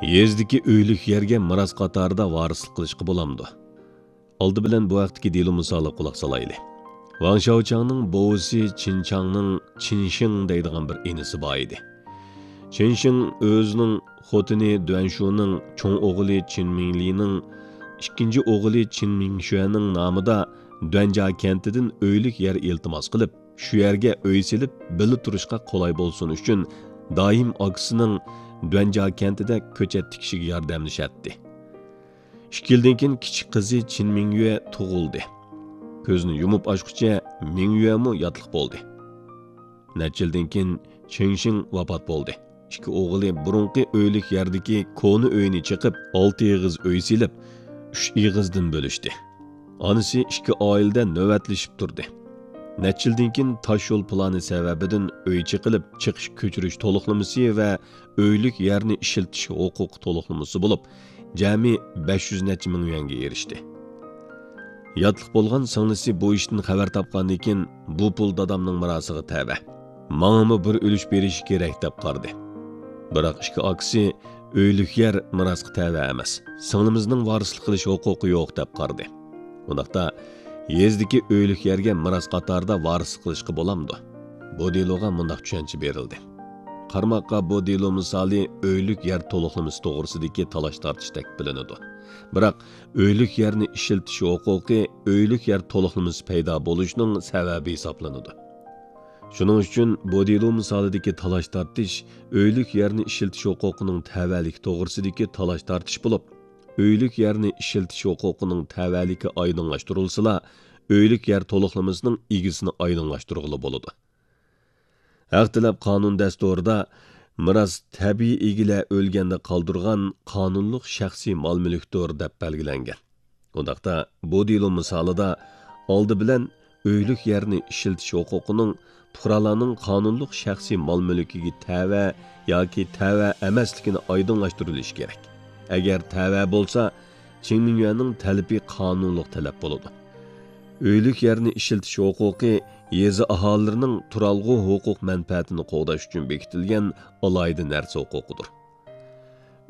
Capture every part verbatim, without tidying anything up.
يېزىدىكى ئۆيلۈك يەرگە مىراس قاتارىدا ۋارىسلىق قىلىشقا بولامدۇ؟ ئالدى بىلەن بۇ ھەقتىكى دېلو مىسالىغا قۇلاق سالايلى. ۋاڭ شياۋچاڭنىڭ بوۋىسى چىن چاڭنىڭ چىن شىڭ دەيدىغان بىر ئىنىسى بار ئىدى. چىن شىڭ ئۆزىنىڭ خوتۇنى دۈەن شۇنىڭ، چوڭ ئوغلى چىن مىڭلىنىڭ، ئىككىنچى ئوغلى چىن مىڭشۈەنىڭ نامىدا دۈەنجا كەنتىدىن ئۆيلۈك يەر ئىلتىماس قىلىپ، شۇ يەرگە ئۆي سېلىپ، بىللە تۇرۇشقا قولاي بولسۇن ئۈچۈن، دائىم ئاكىسىنىڭ دۈەنجا كەنتىدە كۆچەت تىكىشىگە ياردەملىشەتتى. ئىككى يىلدىن كېيىن كىچىك قىزى چىن مىڭيۈە تۇغۇلدى. كۆزىنى يۇمۇپ ئاچقۇچە مىڭيۈەمۇ ياتلىق بولدى. نەچچە يىلدىن كېيىن چېڭ شىڭ ۋاپات بولدى. ئىككى ئوغلى بۇرۇنقى ئۆيلۈك يەردىكى كونا ئۆينى چېقىپ، ئالتە ئېغىز ئۆي سېلىپ، ئۈچ ئېغىزدىن بۆلۈشتى. ئانىسى ئىككى ئائىلىدە نۆۋەتلىشىپ تۇردى. نەچچە يىلدىن كېيىن تاش يول پىلانى سەۋەبىدىن ئۆي چېقىلىپ، چېقىش كۆچۈرۈش تولۇقلىمىسى ۋە ئۆيلۈك يەرنى ئىشلىتىش ھوقۇقى تولۇقلىمىسى بولۇپ، جەمئىي بەش يۈز نەچچە مىڭ يۈەنگە ئېرىشتى. ياتلىق بولغان سىڭلىسى بۇ ئىشتىن خەۋەر تاپقاندىن كېيىن، بۇ پۇل دادامنىڭ مىراسىغا تەۋە. ماڭىمۇ بىر ئۈلۈش بېرىشى كېرەك دەپ قارىدى. بىراق ئىككى ئاكىسى ئۆيلۈك يەر مىراسقا تەۋە ئەمەس، سىڭلىمىزنىڭ ۋارىسلىق قىلىش ھوقۇقى يوق دەپ قارىدى. ئۇنداقتا يېزىدىكى ئۆيلۈك يەرگە مىراس قاتارىدا ۋارىسلىق قىلىشقا بولامدۇ؟ بۇ دېلوغا مۇنداق چۈشەنچە بېرىلدى. قارىماققا بۇ دېلو مىسالى ئۆيلۈك يەر تولۇقلىمىسى توغرىسىدىكى تالاش-تارتىشتەك بىلىنىدۇ. بىراق ئۆيلۈك يەرنى ئىشلىتىش ھوقۇقى ئۆيلۈك يەر تولۇقلىمىسى پەيدا بولۇشنىڭ سەۋەبى ھېسابلىنىدۇ. شۇنىڭ ئۈچۈن بۇ دېلو مىسالىدىكى تالاش-تارتىش ئۆيلۈك يەرنى ئىشلىتىش ھوقۇقىنىڭ تەۋەلىكى توغرىسىدىكى تالاش-تارتىش بولۇپ، ئۆيلۈك يەرنى ئىشلىتىش ھوقۇقىنىڭ تەۋەلىكى ئايدىڭلاشتۇرۇلسىلا، ئۆيلۈك يەر تولۇقلىمىسىنىڭ ئىگىسىنى ئايدىڭلاشتۇرغىلى بولىدۇ. ھەق تەلەپ قانۇن دەستۇرىدا مىراس تەبىئىي ئىگىلەر ئۆلگەندە قالدۇرغان قانۇنلۇق شەخسىي مال-مۈلۈكتۇر، دەپ بەلگىلەنگەن. ئۇنداقتا، بۇ دېلو مىسالىدا ئالدى بىلەن ئۆيلۈك يەرنى ئىشلىتىش ھوقۇقىنىڭ پۇقرالارنىڭ قانۇنلۇق شەخسىي مال-مۈلكىگە تەۋە ياكى تەۋە ئەمەسلىكىنى ئايدىڭلاشتۇرۇلۇشى كېرەك. ئەگەر تەۋە بولسا، چىڭ مىڭيۈەننىڭ تەلىپى قانۇنلۇق تەلەپ بولىدۇ. ئۆيلۈك يەرنى ئىشلىتىش ھوقۇقى يېزا ئاھالىلىرىنىڭ تۇرالغۇ ھوقۇق مەنپەئەتىنى قوغداش ئۈچۈن بېكىتىلگەن ئالاھىدە نەرسە ھوقۇقىدۇر.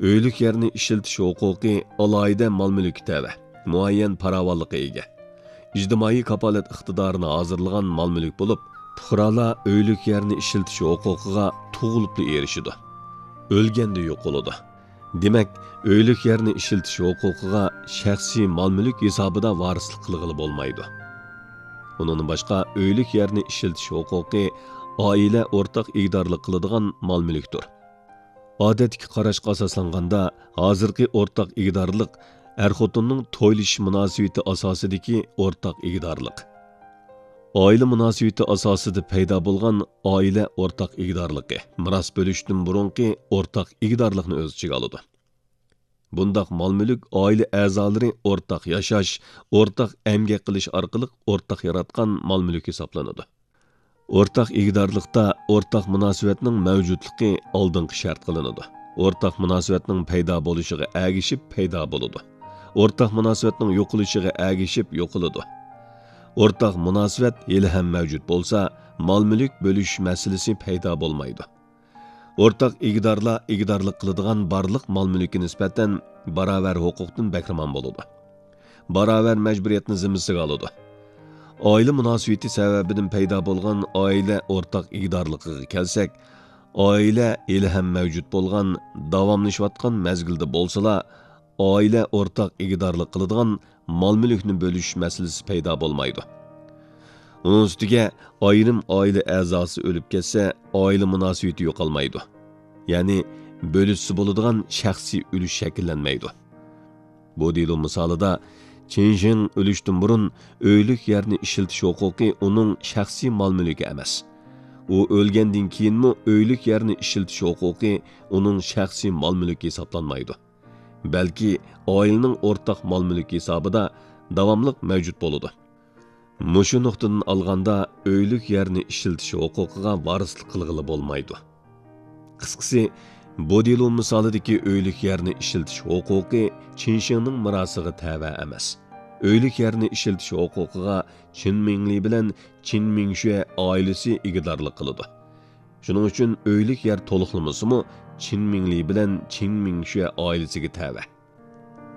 ئۆيلۈك يەرنى ئىشلىتىش ھوقۇقى ئالاھىدە مال-مۈلۈككە تەۋە، مۇئەييەن پاراۋانلىققا ئىگە، ئىجتىمائىي كاپالەت ئىقتىدارىنى ھازىرلىغان مال-مۈلۈك بولۇپ، پۇقرالار ئۆيلۈك يەرنى ئىشلىتىش ھوقۇقىغا تۇغۇلۇپلا ئېرىشىدۇ. ئۆلگەندە يوقىلىدۇ. دېمەك، ئۆيلۈك يەرنى ئىشلىتىش ھوقۇقىغا شەخسىي مال-مۈلۈك ھېسابىدا ۋارىسلىق قىلغىلى بولمايدۇ. ئۇنىڭدىن باشقا، ئۆيلۈك يەرنى ئىشلىتىش ھوقۇقى ئائىلە ئورتاق ئىگىدارلىق قىلىدىغان مال-مۈلۈكتۇر. ئادەتتىكى قاراشقا ئاساسلانغاندا، ھازىرقى ئورتاق ئىگىدارلىق ئەر-خوتۇننىڭ تويلىشىش مۇناسىۋىتى ئاساسىدىكى ئورتاق ئىگىدارلىق. ئائىلە مۇناسىۋىتى ئاساسىدا پەيدا بولغان ئائىلە ئورتاق ئىگىدارلىقى مىراس بۆلۈشتىن بۇرۇنقى ئورتاق ئىگىدارلىقنى ئۆز ئىچىگە ئالىدۇ. بۇنداق مال-مۈلۈك ئائىلە ئەزالىرى ئورتاق ياشاش، ئورتاق ئەمگەك قىلىش ئارقىلىق ئورتاق ياراتقان مال-مۈلۈك ھېسابلىنىدۇ. ئورتاق ئىگىدارلىقتا ئورتاق مۇناسىۋەتنىڭ مەۋجۇتلۇقى ئالدىنقى شەرت قىلىنىدۇ. ئورتاق مۇناسىۋەتنىڭ پەيدا بولۇشىغا ئەگىشىپ پەيدا بولىدۇ. ئورتاق مۇناسىۋەتنىڭ يوقىلىشىغا ئەگىشىپ يوقىلىدۇ. ئورتاق مۇناسىۋەت ھېلىھەم مەۋجۇت بولسا، مال-مۈلۈك بۆلۈش مەسىلىسى پەيدا بولمايدۇ. ئورتاق ئىگىدارلار ئىگىدارلىق قىلىدىغان بارلىق مال-مۈلۈككە نىسبەتەن باراۋەر ھوقۇقتىن بەھرىمەن بولىدۇ. باراۋەر مەجبۇرىيەتنى زىممىسىگە ئالىدۇ. ئائىلە مۇناسىۋىتى سەۋەبىدىن پەيدا بولغان ئائىلە ئورتاق ئىگىدارلىقىغا كەلسەك، ئائىلە ھېلىھەم مەۋجۇت بولغان، داۋاملىشىۋاتقان مەزگىلدە بولسىلا، ئائىلە ئورتاق ئىگىدارلىق قىلىدىغان مال-مۈلۈكنى بۆلۈش مەسىلىسى پەيدا بولمايدۇ. ئۇنىڭ ئۈستىگە، ئايرىم ئائىلە ئەزاسى ئۆلۈپ كەتسە، ئائىلە مۇناسىۋىتى يوقالمايدۇ. يەنى، بۆلۈشسە بولىدىغان شەخسىي ئۈلۈش شەكىللەنمەيدۇ. بۇ دېلو مىسالىدا، چىن شىڭ ئۆلۈشتىن بۇرۇن ئۆيلۈك يەرنى ئىشلىتىش ھوقۇقى ئۇنىڭ شەخسىي مال-مۈلكى ئەمەس. ئۇ ئۆلگەندىن كېيىنمۇ ئۆيلۈك يەرنى ئىشلىتىش ھوقۇقى ئۇنىڭ شەخسىي مال-مۈلكى ھېسابلانمايدۇ. بەلكى ئائىلىنىڭ ئورتاق مال-مۈلكى ھېسابىدا داۋاملىق مەۋجۇت بولىدۇ. مۇشۇ نۇقتىدىن ئالغاندا، ئۆيلۈك يەرنى ئىشلىتىش ھوقۇقىغا ۋارىسلىق قىلغىلى بولمايدۇ. قىسقىسى، بۇ دېلو مىسالىدىكى ئۆيلۈك يەرنى ئىشلىتىش ھوقۇقى چىن شىڭنىڭ مىراسىغا تەۋە ئەمەس. ئۆيلۈك يەرنى ئىشلىتىش ھوقۇقىغا چىن مىڭلى بىلەن چىن مىڭشۈە ئائىلىسى ئىگىدارلىق قىلىدۇ. شۇنىڭ ئۈچۈن ئۆيلۈك يەر تولۇقلىمىسىمۇ چىن مىڭلى بىلەن چىن مىڭشۈە ئائىلىسىگە تەۋە.